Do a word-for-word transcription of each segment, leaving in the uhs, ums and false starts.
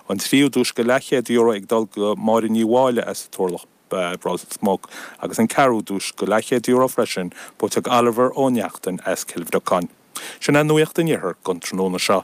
An tríú duais go leathchéad euro ag dul go Máire Ní Mháille as Turlach Ros Muc agus an ceathrú duais go leathchéad euro freisin buaite ag Oliver Ó Neachtain as Cill Bhreacáin. Sin an nuacht an iarthair don tráthnóna seo.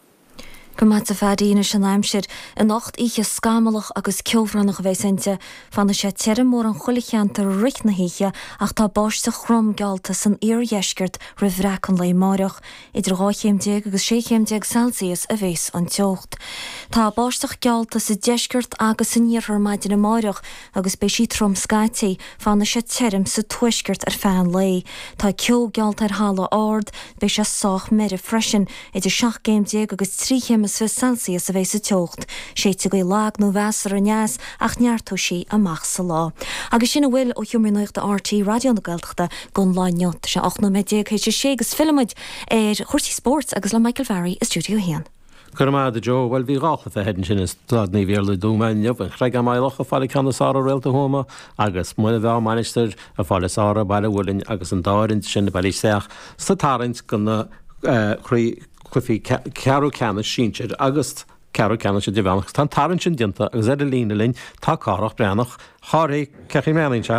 Go maith a Phadaí anois an aimsir anocht oíche scamallach agus ceobhránach a bheas inti, fanfaidh sé tirim mórán chuile cheantar i rith na hoíche ach tá báisteach throm geallta san iardheisceart roimh bhreac an lae amárach. Idir dhá chéim déag agus sé chéim déag Celsius a bheas an teocht. Tá báisteach geallta sa deisceart agus san iarthar maidin amárach agus beidh sí trom scaití, fanfaidh sé tirim sa tuaisceart ar feadh an lae. Tá ceo geallta ar thalamh ard, beidh sé sách meidhreach freisin, idir seacht gcéim déag agus trí chéim is fiche Celsius a bheas sa teocht. Séidfidh gaoth lag nó mheasartha aneas ach neartóidh sí amach sa lá. Agus sin a bhfuil ó Sheomra Nuachta RTÉ Raidió na Gaeltachta don lá inniu. Tá sé ocht nóiméad déag théis a sé agus fillfimid ar chúrsaí spóirt agus le Michael Barry i Stiúideo a haon. Go raibh maith agat Joe, bhuel bhí dhá chluiche ansin i Staid Naomh Iarlaith i dTuama inniu, an Chreagán Maigh Locha ag fáil an ceann is fearr ar Réalta Thuama agus Muine Mheá Mainistir ag fáil is fearr ar Baile Mhuilinn agus an dá fhoireann sin bailithe isteach sa tarraingt do na cluichí ceathrú ceannais sinsir agus ceathrú ceannais idirmheánach. Tá an tarraingt sin déanta agus ar an líne linn tá Cárthach Breathnach. Chárthaigh, cén chaoi a mbreathnaíonn sé?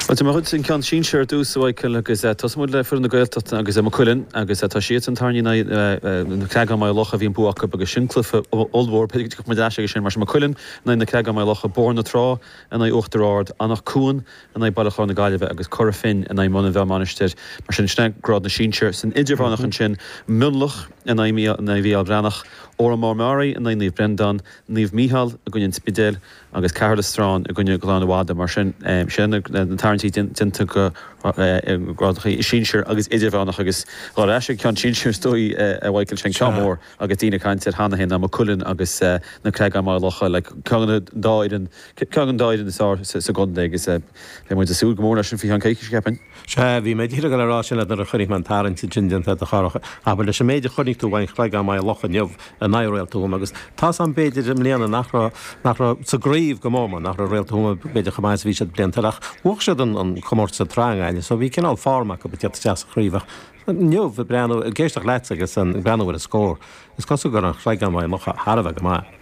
Bhuel, tá mé chun an ceann sinsir ar dtús, a Mhichael, agus tosóidh muid le foireann na Gaeltachta agus Maigh Cuilinn agus tá siad an tarraingt in aghaidh na Creagáin Maigh Locha, bhí an bua acu agus sin cluiche ollmhór, b'fhéidir go dtiocfaidh muid ar ais aige sin, mar sin Maigh Cuilinn in aghaidh na Creagáin Maigh Locha, Bóthar na Trá in aghaidh Uachtar Ard, Anach Cuain in aghaidh Baile Chláir na Gaillimhe agus Cora Finne in aghaidh Muine Mheá Mainistir. Mar sin, sin é grád na sinsear. San idirmheánach ansin, Mionlach in aghaidh Mhícheál Breathnach, Órán Mór Meáraí in aghaidh Naomh Breandán, Naomh Mícheál i gcoinne an Spidéil agus Caherlistrane i gcoinne Ghleann Fhada. Mar sin, sin na tarraingtí déanta do ghrádacha sinsir agus idirmheánach agus dhul ar ais ag ceann sinsir is dóigh a Mhichael, sin ceann mór agus daoine ag caint air cheana féin ná Maigh Cuilinn agus na Creagáin Maigh Locha, like ceann den dá fhoireann, ceann den dá fhoireann is fearr sa gcontae agus beidh muid ag súil go mór leis sin faoi cheann coicíse, cheapfainn. Sea, bhí mé díreach ag rá sin leat nuair a chonaic mé an tarraingt sin déanta a Chárthaigh. Abair leis an méid a chonaic tú uaidh an Chreagán Maigh Locha inniu in aghaidh Réalta Thuama agus tá's a'm b'fhéidir i mbliana nach raibh, nach raibh sa gcraobh go mór mór, nach raibh Réalta Thuama b'fhéidir chomh maith is a bhí siad blianta eile ach bhuaigh siad an, an comórtas sa tsraith i nGaillimh so bhí cineál form acu ag teacht isteach sa chraobh ach inniu ag breathnú, ag éisteacht leatsa agus ag breathnú ar an scór, is cosúil go raibh an Chreagán Maigh Locha thar a bheith go maith.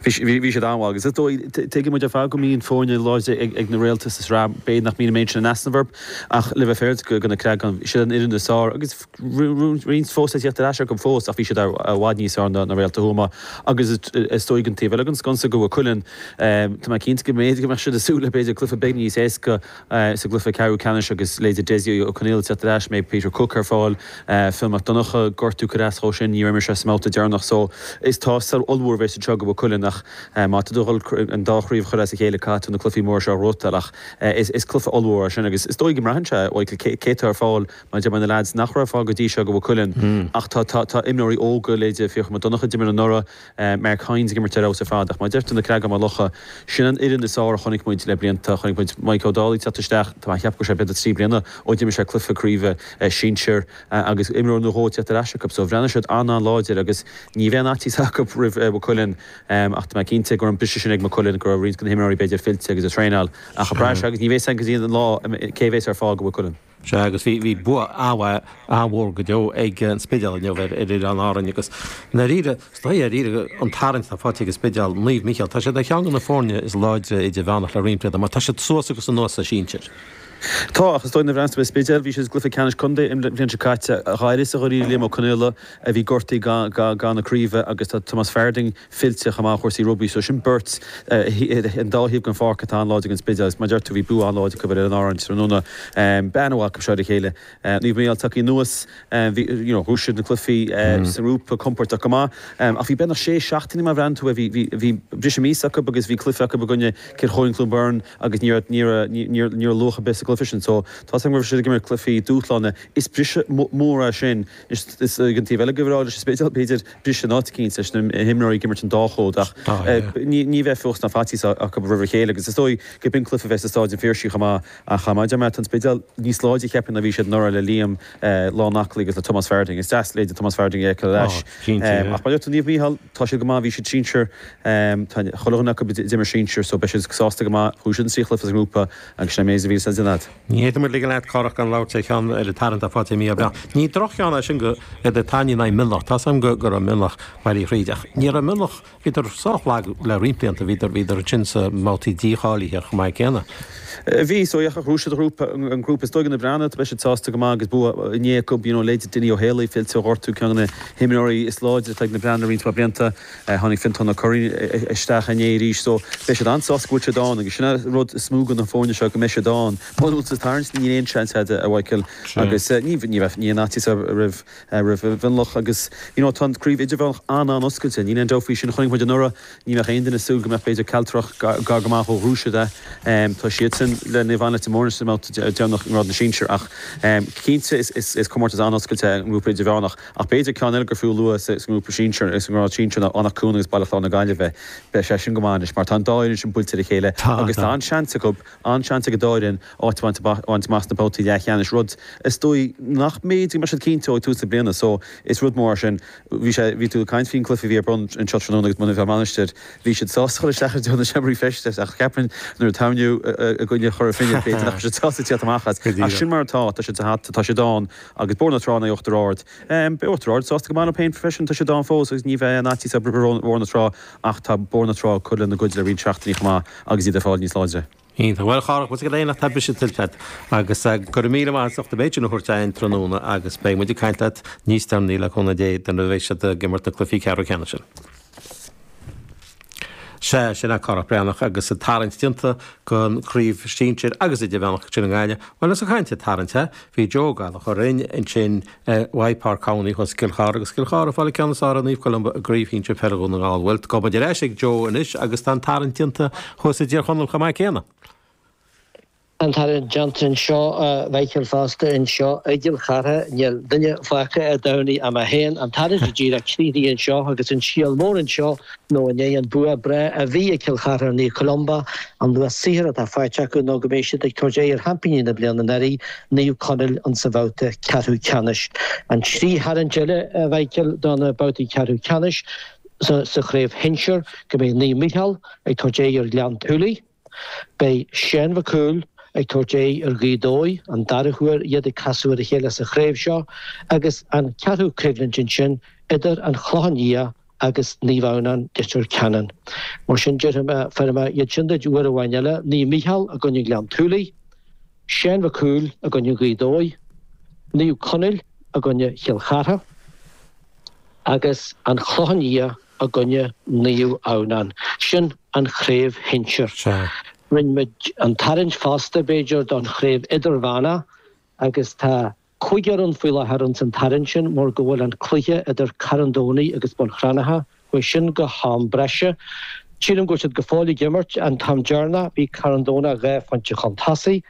Bhí siad an-mhaith agus is dóigh, tuigeann muid ar fad go mbíonn foirne láidre ag na Réalta sa tsraith, b'fhéidir nach mbíonn an méid sin in easnamh orthu ach le bheith féaráilte do na Creagáin, siad an fhoireann is fearr agus roinnt fós le tíocht ar ais acu fós ach bhí siad i bhfad níos fearr ná Réalta Thuama agus is dóigh an taobh eile den sconsa go Mhaigh Cuilinn, tá mé cinnte go mb'fhéidir go mbeadh siad ag súil le b'fhéidir cluiche beag níos éasca sa gcluiche ceathrú ceannais agus leithéidí Dessie Ó Conaola ag teacht ar ais, mbeidh Peter Cooke ar fáil, Phil Mac Donncha gortú curtha as dhó sin, níor imir sé sa mbabhta deireanach so is tástáil ollmhór a bheas anseo go Mhaigh Cuilinn ach má tá tú ag dul an dá chraobh a chur as a chéile caithfidh tú na cluichí móra seo a ghnóthachtáil ach is cluiche ollmhór é sin agus is dóigh go mbraitheann sé Michael cé atá ar fáil mar deir na lads nach raibh ar fáil go dtí seo go Mhaigh Cuilinn ach tá tá imreoirí óga leithéidí Fiachra Mac Donncha a d'imir anuraidh Mark Hynes ag imirt ar fheabhas ar fad ach mar a deir tú na Creagáin Maigh Locha sin an fhoireann is fearr a chonaic muid le blianta chonaic muid Mike Ó Dálaigh teacht isteach tá mé ag ceapadh go raibh sé b'fhéidir trí bliana ó d'imir sé cluiche craoibhe sinsir agus imreoir nó dhó teacht ar ais acu so bhreathnaigh siad an-an-láidir agus ní bheidh aon fhaitíos acu roimh Mhaigh Cuilinn ach tá mé cinnte go raibh an briseadh sin ag Maigh Cuilinn go raibh roinnt de na himreoirí b'fhéidir fillte agus ag traenáil ach ag brath agus ní bheidh san go dtí an lá cé bheas ar fáil go Mhaigh Cuilinn. Sea agus bhí bhí bua an-mhaith an-mhór go deo ag an Spidéal inniu ar ar Oileáin Árainn agus i ndáiríre is dóigh dáiríre an tarraingt atá faighte ag an Spidéal, Naomh Mícheál, tá siad ar cheann de na foirne is láidre idirmheánach le roinnt blianta mar tá siad suas agus anuas sa sinsir. Tá, ach is dóigh nuair a bhreathnaíonn tú ar Spidéal, bhí siad i gcluiche ceannais contae an bhliain seo caite, d'éirigh sa ghaoth Liam Ó Conaola a bhí gortaithe do na craoibhe agus tá Tomás Farding fillte chomh maith ó chúrsaí rugbaí so sin beirt an dá thaobh den pháirc atá an-láidir don Spidéal agus mar a deir tú bhí bua an-láidir acu ar Oileáin Árann tráthnóna. Bean amhail acu seo ar a chéile. Naomh Mícheál tagtha anuas, bhí you know bhuaigh siad na cluichí sa ngrúpa compordach go maith ach bhí beagnach sé seachtaine má bhreathnaíonn tú air bhí bhí briseadh míosa acu agus bhí cluiche acu i gcoinne Cill Chóilín Cluain Bheirn agus ní raibh ní raibh ní raibh luach ar bith sa gcluiche sin so tá 's agam go raibh siad ag imirt cluichí dúshláin is briseadh mór é sin is ag an taobh eile go raibh leis an Spidéal b'fhéidir briseadh in áit eicínt leis na himreoirí ag imirt an dá chód ach ní ní bheidh fuacht ná faitíos acu roimh a chéile agus is dóigh go b'in cluiche a bheidh sa Stáid an Phiarsaigh chomh maith ach mar a deir mé tá an Spidéal níos láidre cheapfainn ná bhí siad anuraidh le Liam lán aclaí agus le Tomás Farding. Is deas leithéidí Tomás Farding a fheiceáil ar ais. Ach mar a deir tú Naomh Mícheál tá siad go maith bhí siad sinsir tá chuile dhuine acu a d'imir sinsir so beidh siad sásta go maith. Chuaigh siad an trí chluiche sa ngrúpa agus sin é méid a bhí sa déanamh. leat. Ní fhéadfaidh muid ligean leat Cárthach gan labhairt ar cheann ar an tarraingt atá faighte i mí Aibreáin. Ní droch-cheann é sin go idir Tairní in aghaidh Mionlach. Tá 's agam go go raibh Mionlach bailithe thríd ach ní raibh Mionlach, bhíodar sách lag le roinnt blianta, bhíodar bhíodar ansin sa mbabhtaí dícháilithe chomh maith céanna. Bhí, so ach ghnóthaigh siad grúpa, an grúpa is dóigh na Breathnaigh, beidh siad sásta go maith agus bua inné acu, you know, leithéid Dinny Ó Héalaí fillte ó ghortú, ceann de na himreoirí is láidre atá ag na Breathnaigh roinnt mhaith blianta. Tháinig Fiontán Ó Curraoin isteach inné arís so beidh siad an-sásta go bhfuil siad ann agus sin an rud is mó do na foirne seo go mbeidh siad ann. Muna bhfuil tú sa tarraingt níl aon seans agat a Mhichael agus ní ní bheadh ní aon fhaitíos roimh roimh Mhionlach agus you know tá an craobh idirmheánach an-an-oscailte níl aon dabht faoi sin. Chonaic muid anuraidh ní bheadh aon duine ag súil go mbeadh b'fhéidir Cealtrach gar go maith ó ghnóthaigh siad é. Tá siadsan le Naomh Anna Leitir Móir sa mbabhta deireanach i ngrád na sinsear ach cinnte is comórtas an-oscailte é an grúpa idirmheánach ach b'fhéidir ceann eile gur fiú a lua sa ngrúpa sinsir, sa ngrád sinsir ná Anach Cuain agus Baile Chláir na Gaillimhe. Beidh sé sin go maith anois mar tá an dá fhoireann sin buailte ar a chéile agus tá an-seans acu, an-seans ag an dá fhoireann áit a bhaint amach sna babhtaí leathcheannais, rud is dóigh nach mb'fhéidir go mbeadh siad cinnte ó ag tús na bliana so is rud mór é sin. Bhí sé, bhí tú ag caint faoin gcluiche a bhí ar bun anseo tráthnóna agus Muine Mheá Mainistir, bhí siad sásta dul isteach ar deireadh na seomraí feistis ach ceapaim nuair a taibhniú i gcoinne Chora Finne b'fhéidir nach raibh siad sásta tíocht amach as. Ach sin mar atá, tá siad sa hata, tá siad ann agus Bóthar na Trá in aghaidh Uachtar Ard. Beidh Uachtar Ard sásta go maith leo féin freisin, tá siad ann fós agus ní bheidh aon fhaitíos orthu roimh Bhóthar na Trá ach tá Bóthar na Trá ag cur lena gcuid le roinnt seachtainí chomh maith agus iad ag fáil níos láidre. Iontach. Bhuel, a Chárthach, bhfuil a fhios agat nach tá briseadh tuillte agat agus go raibh míle maith as ucht an méid sin a thabhairt againn tráthnóna agus beidh muid ag caint leat níos deireanaí le cúnamh Dé nuair a bheidh siad ag imirt na cluichí ceathrú ceannais sin. Sea, sin é Cárthach Breathnach agus an tarraingt déanta don chraobh sinsir agus idirmheánach ansin i nGaillimh. Bhuel, ós ag caint ar tarraingt, bhí Joe Ó Gallchóir linn ansin i Páirc Cowney thuas i gCill Chartha agus Cill Chartha ag fáil an ceann is fearr ar Naomh Columba i gcraobh shinsir peile Dhún na nGall. Bhuel, gabhfaidh muid ar ais ag Joe anois agus tá an tarraingt déanta thuas i dTír Chonaill chomh maith céanna. An tarraingt déanta anseo, a Mhichíl, fosta anseo i gCill Chartha. Níl duine fágtha ar domhan ach mé féin. An tarraingt go díreach críochnaithe anseo agus an scéal mór anseo nó i ndiaidh an bua breá a bhí ag Cill Chartha ar Naomh Columba, an luach saothair atá faighte acu nó go mbeidh siad ag tabhairt aghaidh ar sheaimpíní na bliana anuraidh, Naomh Conaill, insa bhabhta ceathrú ceannais. An trí tharraingt eile, a Mhichíl, do na babhtaí ceathrú ceannais sa chraobh shinsir, go mbeidh Naomh Micheál ag tabhairt aghaidh ar Ghleann tSúilí, Beidh Seán Mhic Cumhaill ag tabhairt aghaidh ar Ghaoth Dobhair, an dara huair iad ag casadh ar a chéile sa chraobh seo, agus an ceathrú coimhlint ansin idir An Clochán Liath agus Naomh Adhamhnáin, Leitir Ceanainn. Mar sin, déarfaidh mé, déarfaidh mé iad sin duit uair amháin eile, Naomh Micheál i gcoinne Ghleann tSúilí, Seán Mhic Cumhaill i gcoinne Ghaoth Dobhair, Naomh Conaill i gcoinne Chill Chartha agus An Clochán Liath i gcoinne Naomh Adhamhnáin. Sin an chraobh shinsir. Rinne muid an tarraingt fosta, b'fhéidir, don chraobh idirmheánach agus tá cúigear ann faoi láthair ins an tarraingt sin mar go bhfuil an cluiche idir Carn Domhnaigh agus Bun Cranncha, chuaigh sin go ham breise. Sílim go bhfuil siad go fóill ag imirt. An t-am deireanach bhí Carn Domhnach dhá phointe chun tosaigh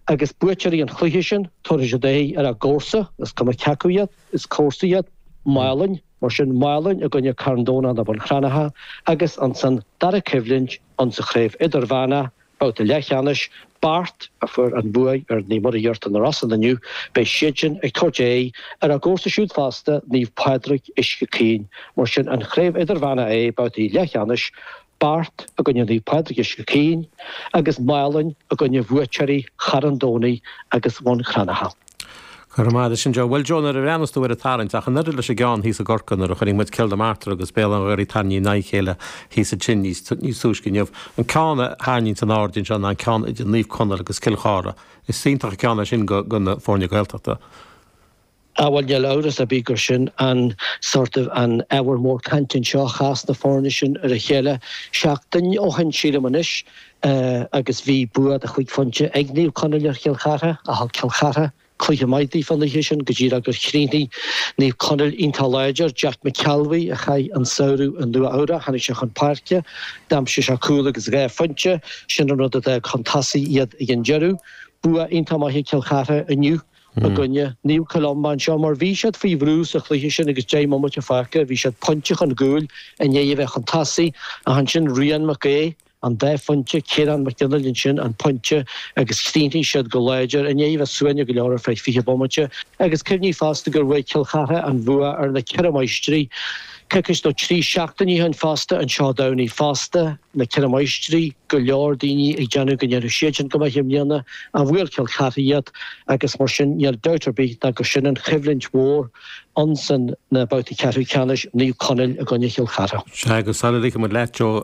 agus buaiteoirí an chluiche sin, tabharfaidh siad aghaidh ar a gcomharsa, is cuma cé acu iad, is comharsa iad, Málainn. Mar sin, Málainn i gcoinne Carn Domhnach nó Bun Cranncha agus ansan dara coimhlint insa chraobh idirmheánach, babhta leathcheannais, Beart a fuair an bhuaidh ar Naomh Muire Iarta na Rosann inniu, beidh siadsin ag tabhairt aghaidh ar a gcomharsa siúd fosta, Naomh Pádraig Uisce Caoin. Mar sin, an chraobh idirmheánach é, babhtaí leathcheannais, Beart i gcoinne Naomh Pádraig Uisce Caoin agus Málainn i gcoinne bhuaiteoirí Charn Domhnaigh agus Bhun Cranncha. Go raibh maith agat sin Joe. Bhuel Joe, nuair a bhreathnas tú ar an tarraingt, ach an oiread leis an gceann thíos i gCorcaigh nuair a chonaic muid Cill na Martra agus Béal Átha an Ghaorthaidh tarraingthe in aghaidh a chéile thíos ansin níos níos túisce inniu, an ceann a tharraingíonns in airde anseo ná an ceann idir Naomh Conaill agus Cill Chartha. Is iontach an ceann é sin go go na foirne Gaeltachta. Á bhuel níl amhras ar bith gur sin an sort of an ábhar mór cainte anseo, chas na foirne sin ar a chéile seachtain ó shin sílim anois agus bhí bua de chúig phointe ag Naomh Conaill ar Chill Chartha ach thug Cill Chartha cluiche maith daofa an oíche sin go díreach gur chríochnaigh Naomh Conaill iontach láidir. Jack McKelvey a chaith an samhradh i Nua Eabhrac, tháinig sé chun páirce, d'aimsigh sé cúl agus dhá phointe, sin an rud a d'fhág chun tosaigh iad ag an deireadh. Bua iontach maith ag Cill Chartha inniu i gcoinne Naomh Columba anseo mar bhí siad faoi bhrú sa chluiche sin agus deich mbomaite fágtha, bhí siad pointe chun cúil i ndiaidh a bheith chun tosaigh ach ansin Rian Mac Aodha, an dá phointe, Ciarán Mac Fhionnghaile ansin an pointe agus chríochnaigh siad go láidir i ndiaidh a bheith suaimhneach go leor ar feadh fiche bomaite agus cuimhnigh fosta gur bhuaigh Cill Chartha an bhua ar na Ceithre Máistrí Coicís nó trí seachtainí ó shin fosta anseo Domhnaigh fosta, na Ceithre Máistrí, go leor daoine ag déanamh go ndéanfaidh siadsan go maith i mbliana, a bhuail Cill Chartha iad agus mar sin níl dabht ar bith ná gur sin an choimhlint mhór ansan na babhtaí ceathrú ceannais, Naomh Conaill i gcoinne Chill Chartha. Sea, agus sula ligfidh muid leat, Joe,